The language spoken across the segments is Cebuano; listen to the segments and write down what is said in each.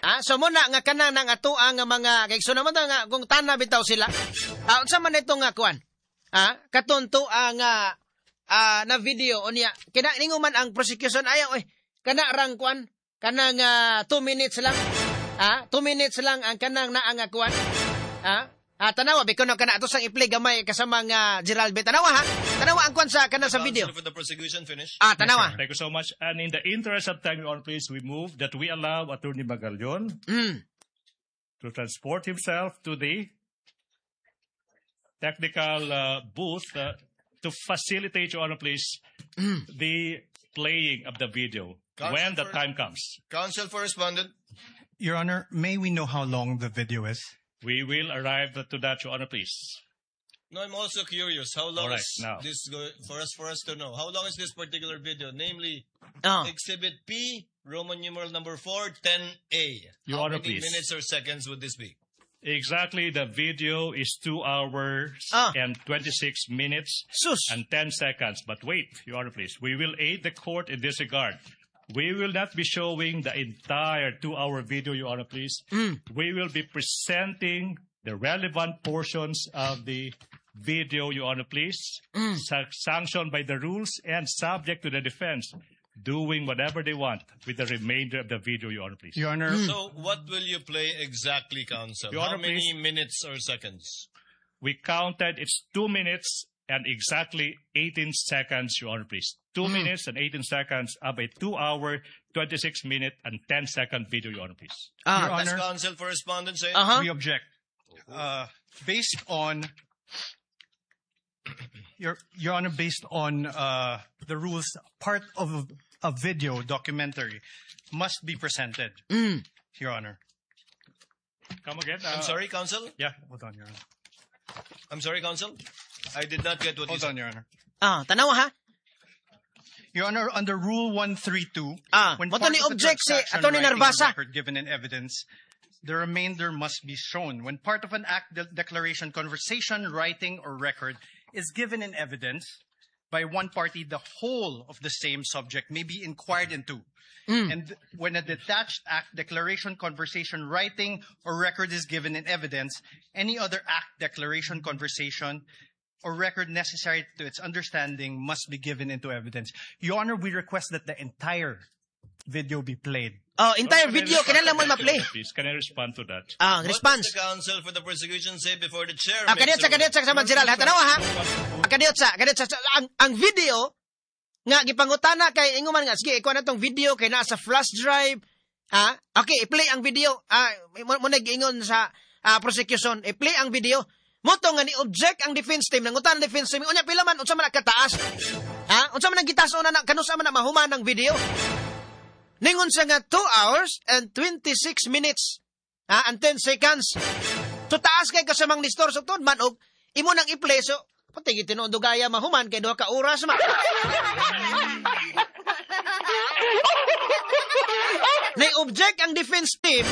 Ah, so muna nga kanang nang atoa nga mga kay so naman ta nga kung tana bitaw sila. Ah, unsa man ito nga kuan? Ah, katon tuwa nga na video unya kina ningo man ang prosecution ayaw oy kana rang kuan kanang 2 minutes lang. Ah, 2 minutes lang ang kanang naa nga kuan. Ah, tanawa biko no kana ato sang i-play gamay kasama nga Gerald B. Tanawa ha. Tanawa ang kuan sa kana sa video. Counsel for the prosecution finish. Ah, tanawa. Thank you so much. And in the interest of time, Your Honor, please, we move that we allow Attorney Magallon to transport himself to the technical booth to facilitate, Your Honor, please, the playing of the video Counsel when the time comes. Counsel for respondent. Your Honor, may we know how long the video is? We will arrive to that, Your Honor, please. No, I'm also curious. How long All right, is now. This for us to know? How long is this particular video? Namely, Exhibit P, Roman numeral number 4, 10A. Your How Honor, many please. Minutes or seconds would this be? Exactly, the video is 2 hours and 26 minutes Sus. And 10 seconds. But wait, Your Honor, please. We will aid the court in this regard. We will not be showing the entire 2-hour video, Your Honor, please. We will be presenting the relevant portions of the video, Your Honor, please, sanctioned by the rules and subject to the defense doing whatever they want with the remainder of the video, Your Honor, please. Your Honor, So, what will you play exactly, counsel? Your How Honor, many please. Minutes or seconds? We counted, it's 2 minutes and exactly 18 seconds, Your Honor, please. 2 minutes and 18 seconds of a 2-hour, 26 minute and 10 second video, Your Honor, please. Your Does Honor, counsel for respondent say? We object. Based on Your Honor, based on the rules, part of a video documentary must be presented. Your Honor. Come again? I'm sorry, counsel? Yeah. Hold on, Your Honor. I'm sorry, counsel? I did not get what you Hold said. On, Your Honor. Ah, tanawa ha. Your Honor, under Rule 132, when Mo to part ni of the object si transaction, Attorney writing, or Narvasa. Record given in evidence, the remainder must be shown. When part of an act, declaration, conversation, writing, or record is given in evidence by one party, the whole of the same subject may be inquired into. And when a detached act, declaration, conversation, writing, or record is given in evidence, any other act, declaration, conversation, or record necessary to its understanding must be given into evidence. Your Honor, we request that the entire video be played. Oh, entire Can I video respond to kinahanglan mo that, ma-play. Your Honor, please? Can I respond to that? Ah, What response. does the counsel for the prosecution say before the chair Ah, makes kadiyot sa a ruling? Kadiyot sa sama Gerald ha, tanawa ha. Ah, kadiyot sa ang video nga gipangutana kay ingon man nga sige ikuha na tong video kay naa sa flash drive. Ah, okay, i-play ang video. Ah, mo nag-ingon sa prosecution, i-play ang video. Mo to nga ni object ang defense team, nangutan ang defense team, unya pila man, unsa man ang kataas? Ha? Unsa man ang gitaas na kanus man na mahuman ang video? Ningon siya nga 2 hours and 26 minutes, ha, and 10 seconds. So taas kay kasamang ni Nestor, so tuod man og imo nang i-play, so pati gitinuod dugaya mahuman kay 2 ka oras ma. Nay-object ang defense team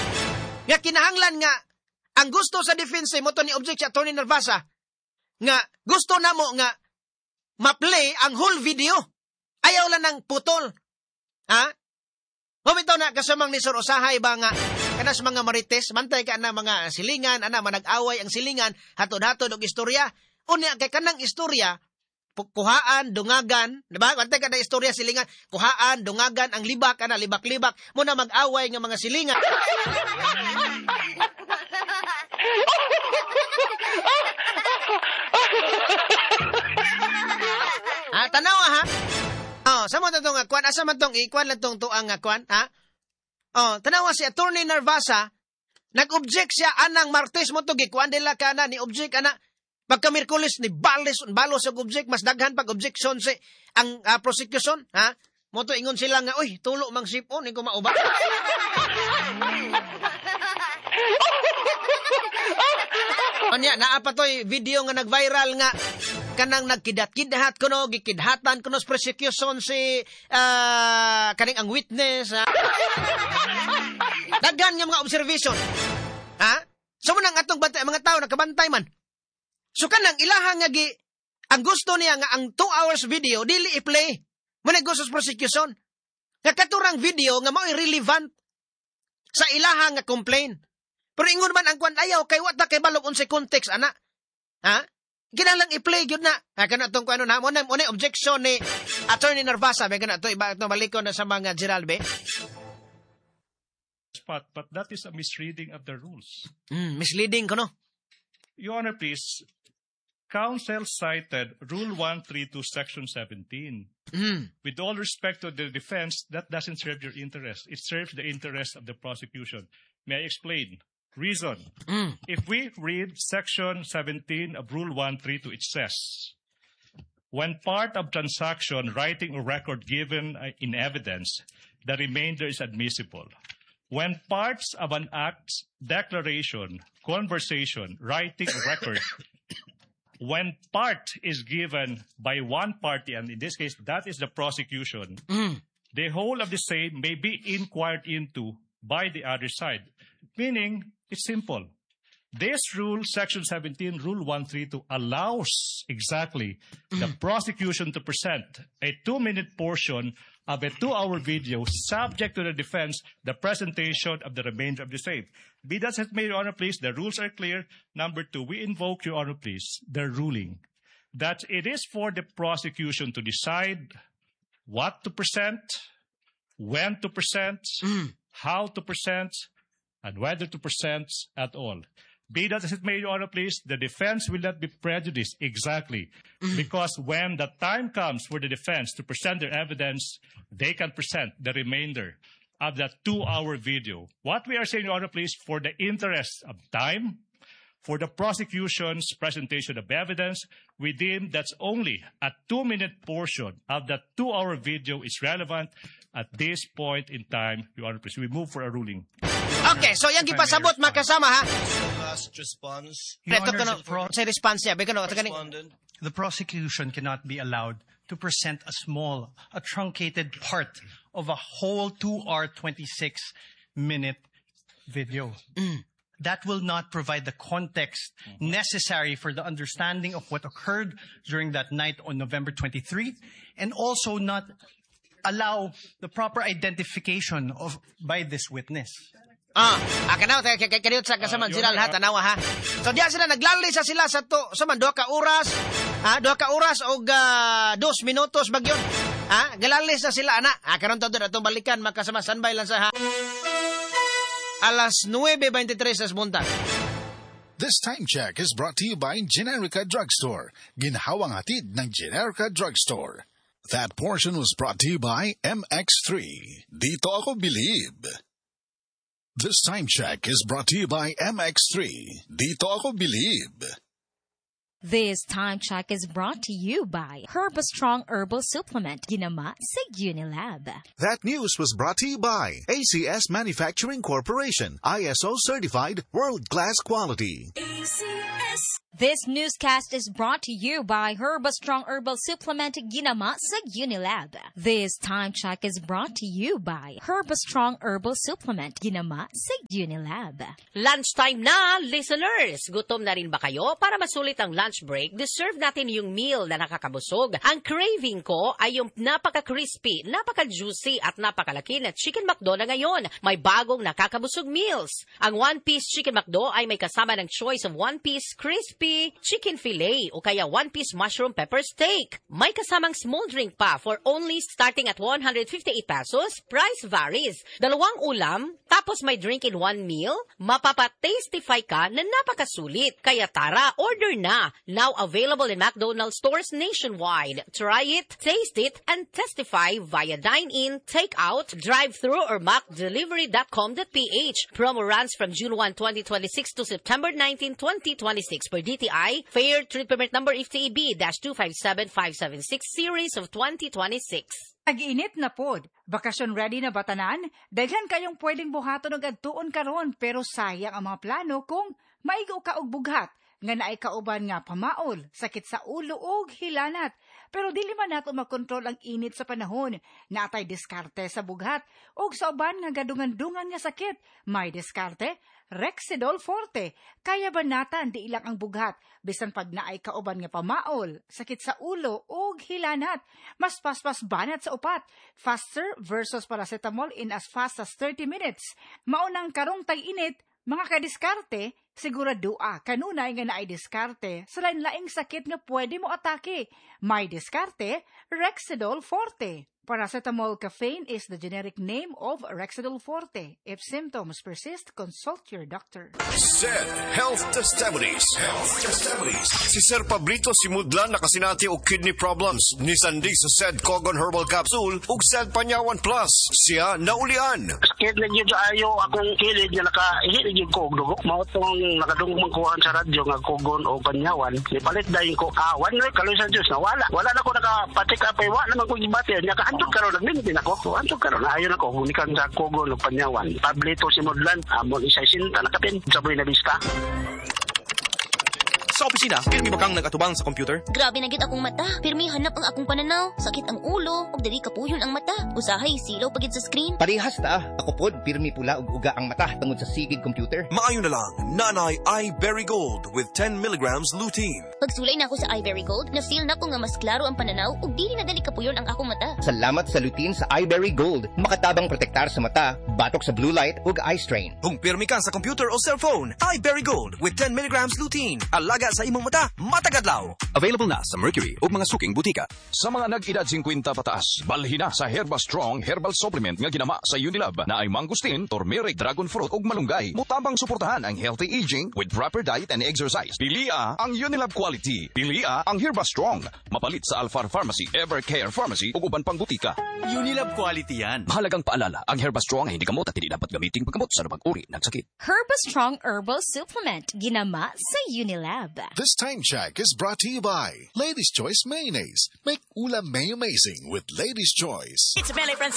nga kinahanglan nga ang gusto sa defense team mo to ni object si Attorney Narvasa nga gusto namo nga ma-play ang whole video. Ayaw lang ng putol. Ha? Mao na kasamang ni Sir, usahay ba nga kana sa mga marites, mantay ka na mga silingan, ana manag-away ang silingan, hatod-hatod og istorya. Unya kay kanang istorya kuhaan, dungagan, di ba? Bantay ka na istorya silingan, kuhaan, dungagan, ang libak, ana, libak-libak, muna mag-away nga mga silingan. Ah, tanawa ha. Oh, sa mo tong kuan, asa man tong ikuan lang tong tuang nga kuan, ha? Oh, tanawa si Attorney Narvasa, nag-object siya anang Martes mo to gikuan nila kana ni object ana. Pagka Miyerkules ni balis balos og object, mas daghan pag objection si ang prosecution, ha? Mo to ingon sila nga, uy, tulo mang sipon ko mauba. Anya, naa pa to'y video nga nag-viral nga kanang nagkidat-kidhat kuno, gikidhatan kuno sa prosecution si kaning ang witness, ha? Daghan nga mga observation. Ha? So mo nang atong bantay, mga tao nakabantay man. So kanang ilaha nga gi ang gusto niya nga ang 2 hours video dili i-play. Mo na gusto sa prosecution. Nga katurang video nga mao'y relevant Sa ilaha nga complaint. Pero ingon man ang kwan, ayaw kay wa ta kay balog unsay context ana. Ha? Kinahanglan i-play gyud na. Ha, kana tong kuan na mo na objection ni Attorney Narvasa, may kana to iba to balikon na sa mga Geralbe. Spot, but that is a misreading of the rules. Misleading kuno. Your Honor, please, counsel cited Rule 132, Section 17. With all respect to the defense, that doesn't serve your interest. It serves the interest of the prosecution. May I explain? Reason. If we read Section 17 of Rule 132, it says, when part of transaction, writing or record given in evidence, the remainder is admissible. When parts of an act, declaration, conversation, writing or record, when part is given by one party, and in this case, that is the prosecution, the whole of the same may be inquired into by the other side. Meaning, it's simple. This rule, Section 17, Rule 132, allows exactly the prosecution to present a 2-minute portion of a 2-hour video subject to the defense, the presentation of the remainder of the same. Be that as it may, Your Honor, please, the rules are clear. Number two, we invoke, Your Honor, please, the ruling that it is for the prosecution to decide what to present, when to present, how to present, and whether to present at all. Be that as it may, Your Honor, please, the defense will not be prejudiced exactly because when the time comes for the defense to present their evidence, they can present the remainder of that 2-hour video. What we are saying, Your Honor, please, for the interest of time, for the prosecution's presentation of evidence, we deem that's only a 2-minute portion of that 2-hour video is relevant at this point in time, Your Honor, please. We move for a ruling. Okay, so yang gipasabot makasama ha. Last response. Your Ito Honor, kuno sa response niya, kuno Respondent. The prosecution cannot be allowed to present a small, a truncated part of a whole 2-hour, 26-minute video. That will not provide the context necessary for the understanding of what occurred during that night on November 23, and also not allow the proper identification of by this witness. Kana kay sa kasama sila lahat tanawa ha. So diya sila naglalisa sila sa to sa man 2 ka oras, ha, 2 ka oras og 2 minutos bagyon. Ha, galalis na sila ana. Ha, karon to atong balikan makasama standby lang sa ha. Alas 9:23 sa buntag. This time check is brought to you by Generica Drugstore. Ginhawang hatid ng Generica Drugstore. That portion was brought to you by MX3. Dito ako believe. This time check is brought to you by MX3. Dito ako believe. This time check is brought to you by Herbastrong Herbal Supplement, Ginama sa Unilab. That news was brought to you by ACS Manufacturing Corporation, ISO certified world-class quality. ACS. This newscast is brought to you by Herbastrong Herbal Supplement, Ginama sa Unilab. This time check is brought to you by Herbastrong Herbal Supplement, Ginama sa Unilab. Lunchtime na, listeners! Gutom na rin ba kayo? Para masulit ang lunch break, deserve natin yung meal na nakakabusog. Ang craving ko ay yung napaka-crispy, napaka-juicy at napakalaki na Chicken McDo na ngayon. May bagong nakakabusog meals. Ang one-piece Chicken McDo ay may kasama ng choice of one-piece crispy chicken fillet o kaya one-piece mushroom pepper steak. May kasamang small drink pa for only starting at 158 pesos. Price varies. 2 ulam, tapos may drink in one meal, mapapa-tastify ka na napakasulit. Kaya tara, order na. Now available in McDonald's stores nationwide. Try it, taste it, and testify via dine-in, take-out, drive-thru, or macdelivery.com.ph. Promo runs from June 1, 2026 to September 19, 2026 per DTI. Fair Trade Permit Number FTEB-257576 Series of 2026. Nag-init na pod. Bakasyon ready na ba tanan? Daghan kayong pwedeng buhaton og adtuon karon pero sayang ang mga plano kung maigo ka og bughat nga naay kauban nga pamaol, sakit sa ulo ug hilanat. Pero dili man nato makontrol ang init sa panahon. Natay diskarte sa bughat ug sa uban nga gadungan-dungan nga sakit. May diskarte, Rexidol Forte. Kaya banatan di ilang ang bughat bisan pag naay kauban nga pamaol, sakit sa ulo ug hilanat. Mas paspas banat sa upat. Faster versus paracetamol in as fast as 30 minutes. Maunang karong tag-init, mga kadiskarte, siguradoa kanunay nga naay diskarte sa lain-laing sakit nga pwede mo atake. May diskarte, Rexidol Forte. Paracetamol caffeine is the generic name of Rexidol Forte. If symptoms persist, consult your doctor. Said Health Testimonies. Health Testimonies. Si Sir Pablito Simudlan nakasinati og kidney problems. Nisandi sa Said Kogon Herbal Capsule ug Said Panyawan Plus. Siya naulian. Sakit na gyud ayo akong kilid nga nakaihi gyud ko og dugo. Mao tong nakadungog man kuhan sa radyo nga Kogon o Panyawan. Nipalit dayon ko 1 week kaloy sa Dios nawala. Wala na ko naka-check up ay wa naman ko gibati. Nya kaantog karon nagmintin ako. Antog karon ayon ako gunikan sa Kogon o Panyawan. Pablito Simudlan amon isa sinta nakapin sa Buena Vista. Sa opisina, pirmi ba kang nag-atubang sa computer? Grabe na gyud akong mata. Pirmi hanap ang akong pananaw. Sakit ang ulo, ug dili kapuyon ang mata. Usahay silaw pagid sa screen. Parehas ta. Ako pod pirmi pula ug uga ang mata tungod sa sigig computer. Maayo na lang, Nanay iBerry Gold with 10 milligrams lutein. Pagsulay na ako sa iBerry Gold, na-feel na ko nga mas klaro ang pananaw ug dili na dali kapuyon ang akong mata. Salamat sa lutein sa iBerry Gold. Makatabang protektar sa mata, batok sa blue light ug eye strain. Kung pirmi ka sa computer o cellphone, iBerry Gold with 10 milligrams lutein. Alaga sa imong mata, matagadlaw. Available na sa Mercury ug mga suking butika. Sa mga nag-edad 50 pataas, balhina sa Herba Strong Herbal Supplement nga ginama sa Unilab na ay mangustin, turmeric, dragon fruit ug malunggay. Mutabang suportahan ang healthy aging with proper diet and exercise. Pilia ang Unilab quality. Pilia ang Herba Strong. Mapalit sa Alfar Pharmacy, Evercare Pharmacy ug uban pang butika. Unilab quality yan. Mahalagang paalala, ang Herba Strong ay hindi gamot at hindi dapat gamiting paggamot sa anumang uri ng sakit. Herba Strong Herbal Supplement, ginama sa Unilab. This time check is brought to you by Ladies Choice Mayonnaise. Make ulam may amazing with Ladies Choice. It's Mele Francisco.